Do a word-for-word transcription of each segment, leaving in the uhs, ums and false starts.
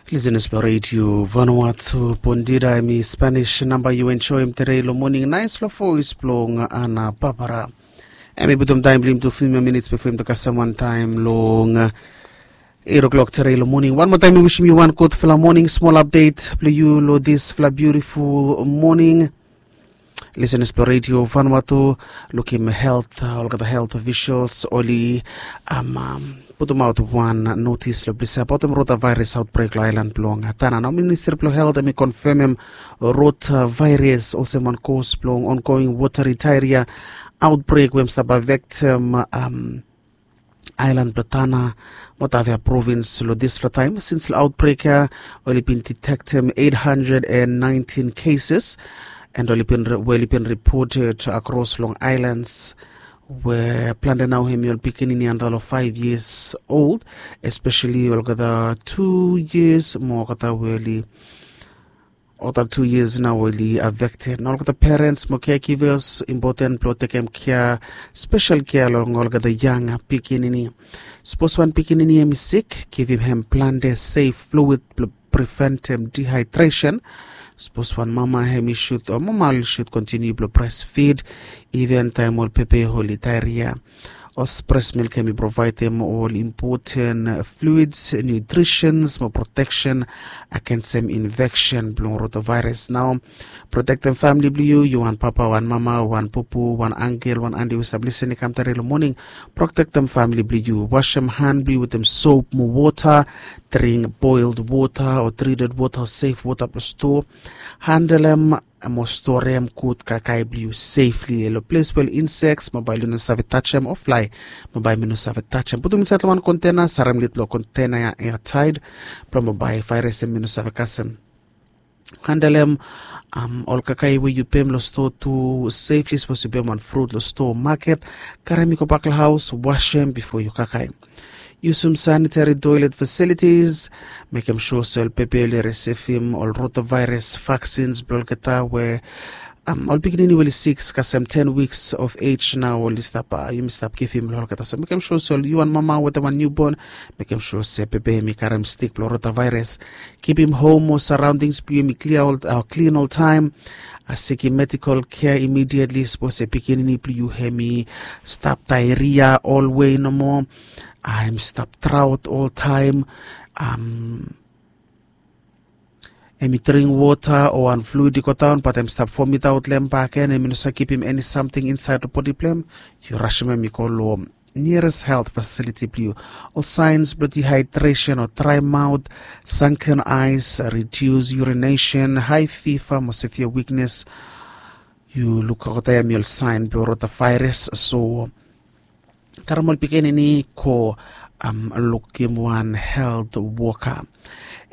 Lisenas blong redio Vanuatu, bondita, em i Spanish namba yu enjoim tere long moning. Nais long voes blong Ana Barbara. Em i putum taem blong yumi tu fiftin minits bifo yumi tu kasem wan taem long eit o'clock tere long moning. Wan moa taem mi wisim yu wan gudfala moning. Smol apdet blong yu long disfala biutiful moning. Lisenas blong redio Vanuatu, lukim helt, olgeta helt ofisels oli putumaot wan notis long ples ia abaotem rota vaeras aotbrek long aelan blong Tanna. Nao ministri blong helt em i konfemem rota vaeras olsem wan kos blong ongoing wotari taeria aotbrek we em stap afektem aelan blong Tanna mo Tavia provins long disfala taem. Sins long aotbrek ia oli bin ditektem eit handred en naentin keses, en we oli bin ripoted akros long aelans, we plante nao hem i ol pikinini anda long faef yias old, espeseli olgeta tu yias mo olgeta we oli olgeta tu yias nao oli afekted. Nao olgeta perens mo kegivas impoten blong tekem kea, spesel kea long olgeta yang pikinini. Sapos wan pikinini hem i sik, givim hem plante sef fluid blong preventem dihaedresen. Sapos wan mama hem i sud o mama oli sud kontiniu blong bresfid iven taem ol pepe oli daeria. Ol bres milk hem i provaedem ol impoten fluids, niutrisens mo proteksen agensem infeksen blong rota vaeras. Nao protektem famili blong yu, yu wan papa, wan mama, wan pupu, wan angel, wan anti we save lisin i kam tare long moning. Protektem famili blong yu. Wasem han blong yu wetem sop mo wota. Dring boild wota o trited wota o sef wota blong stoa. Handelem mo storem gud kakae blong yu sefli long ples we ol inseks mo bae oli no save tajem o flae mo bae mi no save tajem. Putum insaed long wan kontena, sarem lid blong kontena ia eataed blong mo bae vaeras hem i no save kasem. Handelem ol kakae we yu pem long stoa tu sefli. Sapos yu pem wan frut long stoa o maket, karem i gobak long haos, wasem bifo yu kakae. Yusum sanitari toelet fasilitis. Mekem sua se ol pepe oli risivim ol rota vaeras vaksins blong olgeta we ol pikinini we oli sik kasem ten wiks of ej nao oli stap, yumi stap givim long olgeta. So mekem sua se ol yu wan mama wetem wan niubon, mekem sua se pepe hem i karem stik blong rota vaeras. Kipim hom o saraondings blong yu hem i klin oltaem. Sikim medikol kea imidietli sapos se pikinini blong yu hem i stap daeria olwe nomo, hem i stap draot oltaem, hem i dring wota o wan fluid i godaon bat hem i stap vomitaot long hem bakegen, hem i no save kipim eni samting insaed long bodi blong hem, yu rasem hem i go long niares helt fasiliti blong yu. Ol saens blong dihaedresen o draemaot, sanken aes, ridius yurinesen, hae fiva mo sevia wiknes. Yu lukaot hem i ol saen blong rota vaeras. So karem ol pikinini go lukim wan helt woka.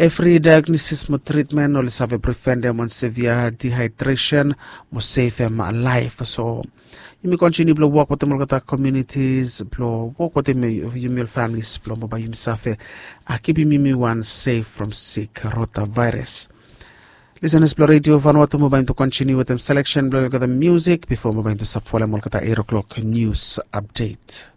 Evri daegnosis mo tritmen oli save preventem wan sevia dihaedresen mo sevem laef. So yumi kontiniu blong wok wetem olgeta komiunitis blong wok wetem yumi ol familis blong mo bae yumi save kipim yumi wan sef from sik rota vaeras. Lisenas blong redio Vanuatu, mo bae yumi tu kontiniu wetem seleksen blong olgeta musik bifo mo bae yumi tu save folem olgeta eit o'clock nius apdet.